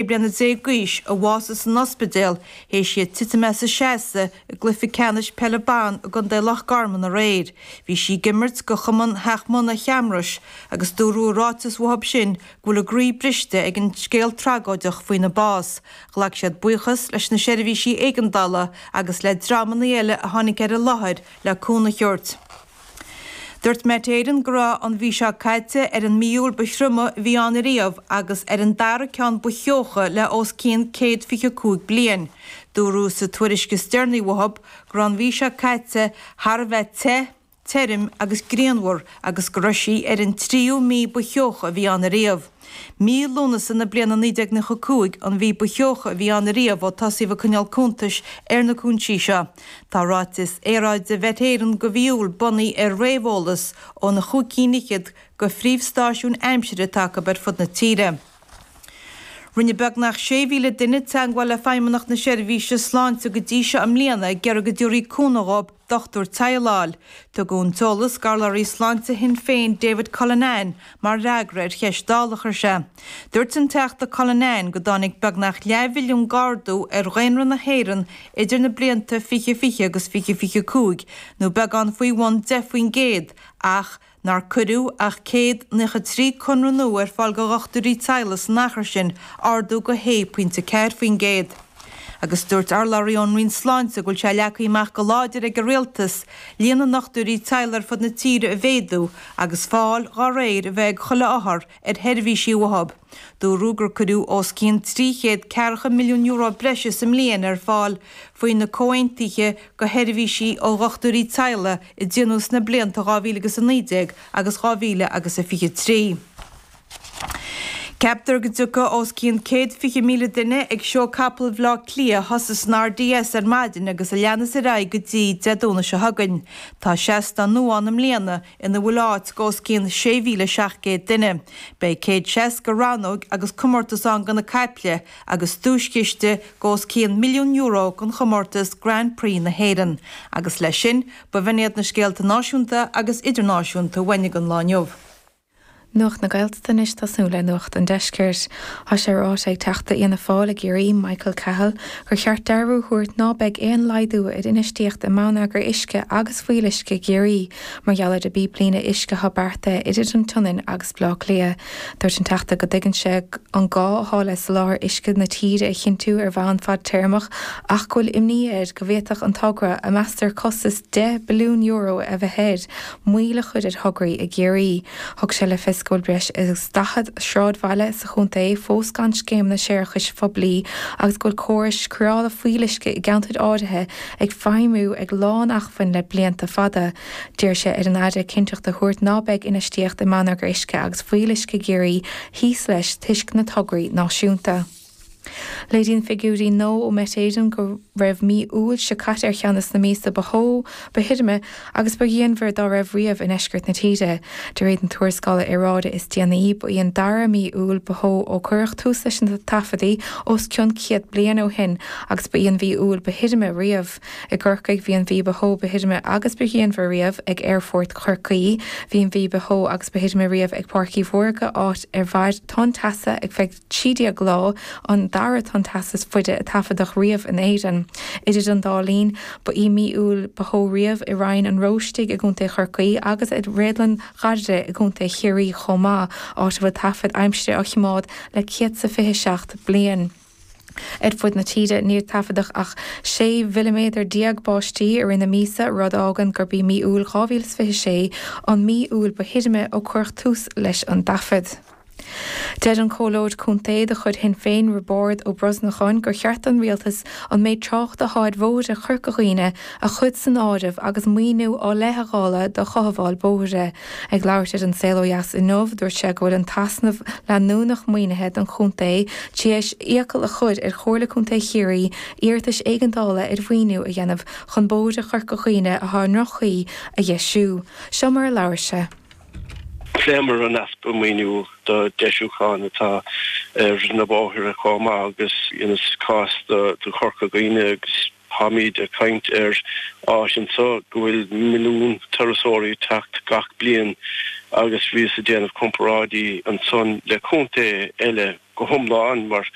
bliana d'aois a bhásaigh san ospidéal théis di titim as a seasamh i gcluiche ceannais peile ban i gContae Loch Garman aréir. Bhí sí ag imirt do Chumann Theach Munna Cheamrais agus dúradh i ráiteas uathu sin go bhfuil a gcroí briste ag an scéal tragóideach faoina bás. Ghlac siad buíochas leis na seirbhísí éigeandála agus le dreamanna eile a tháinig ar an láthair le cúnamh a thabhairt. Dúirt Met Éireann go raibh an mhí seo caite ar an mí Iúil ba thrioma a bhí ann ariamh agus ar an dara ceann ba theocha le os cionn 125 bliain. Dúradh sa tuairisc is deireanaí uathu go raibh an mhí seo caite thar a bheith te, tirim agus grianmhar agus go raibh sí ar an tríú mí ba theocha a bhí ann ariamh. Mí Lúnasa na bliana 1995 an mhí ba theocha a bhí ann ariamh ó tosaíodh ag coinneáil cuntais ar na cúinsí seo. Tá ráiteas aeráide Mhet Éireann do mhí Iúil bunaithe ar réamheolas ó na chúig cinn fhichead de phríomhstáisiúin aimsire atá acu ar fud na tíre. Rinne beagnach 6,000 duine teagmháil le Feidhmeannacht na Seirbhíse Sláinte go dtí seo i mbliana ag iarraidh go dtabharfaí cúnamh dhóibh dochtúir teaghlaigh a fháil. Tugadh an t-eolas d'urlabhraí sláinte Shinn Féin David Cullinane mar fhreagra ar cheist Dála a chuir sé. Dúirt an Teachta Cullinane go dtáinig beagnach leathmhilliún d'ardú ar dhaonra na hÉireann idir na blianta 2020 agus 2025, nó beagán faoi bhun 10%, ach nár cuireadh ach 193 conradh nua ar fáil do dhochtúirí teaghlaigh san achar sin, ardú de 6.4%. Agus dúirt urlabhraí ón Roinn Sláinte go bhfuil sé leagtha amach go láidir ag an Rialtas líon na ndochtúirí teaghlaigh ar fud na tíre a mhéadú agus fáil dá réir a bheith ag chuile othar ar sheirbhísí uathu. Dúradh gur cuireadh os cionn €340 milliún breise sa mbliain ar fáil faoi na comhaontuithe do sheirbhísí ó dhochtúirí teaghlaigh a déanadh sna blianta 2019 agus 2023. Ceaptar go dtiocfaidh os cionn 120,000 duine ag Seó Capall Bhaile Átha Cliath a thosaigh san RDS ar maidin agus a leanas ar aghaidh go dtí Dé Domhnaigh seo chugainn. Tá seastán nua ann i mbliana ina bhfuil áit do os cionn 6,700 duine. Beidh 160 rannóg agus comórtas ann do na caiple agus duaischiste de os cionn €1,000,000 don chomórtas Grand Prix na hÉireann. Agus leis sin, b'in iad na scéalta náisiúnta agus idirnáisiúnta uainn don lá inniu. Nuacht na Gaeltachta anois tosnú le Nuacht an Deiscirt. Tá sé ráite ag Teachta Fhianna Fáil i gCiarraí, Michael Cahill, gur cheart dearbhú a thabhairt ná beidh aon laghdú ar infheistíocht i mbonneagar uisce agus fuíolluisce i gCiarraí mar gheall ar an bpíblíne uisce atá beartaithe idir an tSionainn agus Baile Átha Cliath. Dúirt an Teachta go dtuigeann sé an gá atá le soláthar uisce na tíre a chinntiú ar bhonn fadtéarmach ach go bhfuil imní air go bhféadfadh an togra, a meastar costas €10 billiún a bheith air, moill a chur ar thograí i gCiarraí. Thug sé le fios go bhfuil breis agus 40 sráidbhaile sa chontae fós gan scéimeanna séarachais phoiblí agus go bhfuil córais cóireála fuíolluisce i gceantair áirithe ag feidhmiú ag lán-acmhainn le blianta fada. D'iarr sé ar an Aire cinnteacht a thabhairt ná beidh infheistíocht i mbonneagar uisce agus fuíolluisce i gCiarraí thíos leis toisc na tograí náisiúnta. Léiríonn figiúirí nua ó Met Éireann go raibh mí Iúil seo caite ar cheann de na míosa ba theo, ba thirime agus ba ghrianmhaire dá raibh riamh i ndeisceart na tíre. De réir na tuarascála aeráide is déanaí, ba í an dara mí Iúil ba theo ó cuireadh tús leis na taifeadtaí os cionn 100 bliain ó shin agus ba í an mhí Iúil ba thirime riamh. I gCorcaigh, bhí an mhí ba theo, ba thirime agus ba ghrianmhaire riamh ag Aerfort Chorcaí. Bhí an mhí ba theo agus ba thirime riamh ag Páirc Uí Mhórdha, áit ar mhair tonn teasa ar feadh 13 lá, an dara tonn teasa is faide a taifeadadh riamh in Éirinn. Idir an dá linn, ba í mí Iúil ba theo riamh i Rinn an Róistigh i gContae Chorcaí agus i Réadlann Ghairide i gContae Chiarraí chomh maith, áit a bhfuil taifid aimsire á choimeád le 127 bliain. Ar fud na tíre, níor taifeadadh ach 16 mhilliméadar báistí i rith na míosa, rud a fhágann gurb í mí Iúil 2026 an mhí Iúil ba thirime ó cuireadh tús leis an dtaifead. Deir an Comhairleoir Contae de chuid Shinn Féin, Roibeárd Ó Brosnacháin, gur cheart don Rialtas an méid tráchta atá ar bhóithre Chorca Dhuibhne a chur san áireamh agus maoiniú á leithdháileadh do chothabháil bóithre. Ag labhairt ar An Saol Ó Dheas inniu, dúirt sé go bhfuil an t-easnamh leanúnach maoinithe don chontae tar éis iachall a chur ar Chomhairle Contae Chiarraí iarratais éigeandála ar mhaoiniú a dhéanamh chun bóithre Chorca Dhuibhne atá i ndroch-chaoi a dheisiú. Seo mar a labhair sé. Phléamar an easpa maoiniú do deisiúcháin atá ar na bóithre chomh maith agus sa cás do Chorca Dhuibhne agus táimíd ag caint ar áit anso go bhfuil milliún turasóirí ag teacht gach bliain agus bhíos ag déanamh comparáidí ansan le contae eile. go hiomlán mar.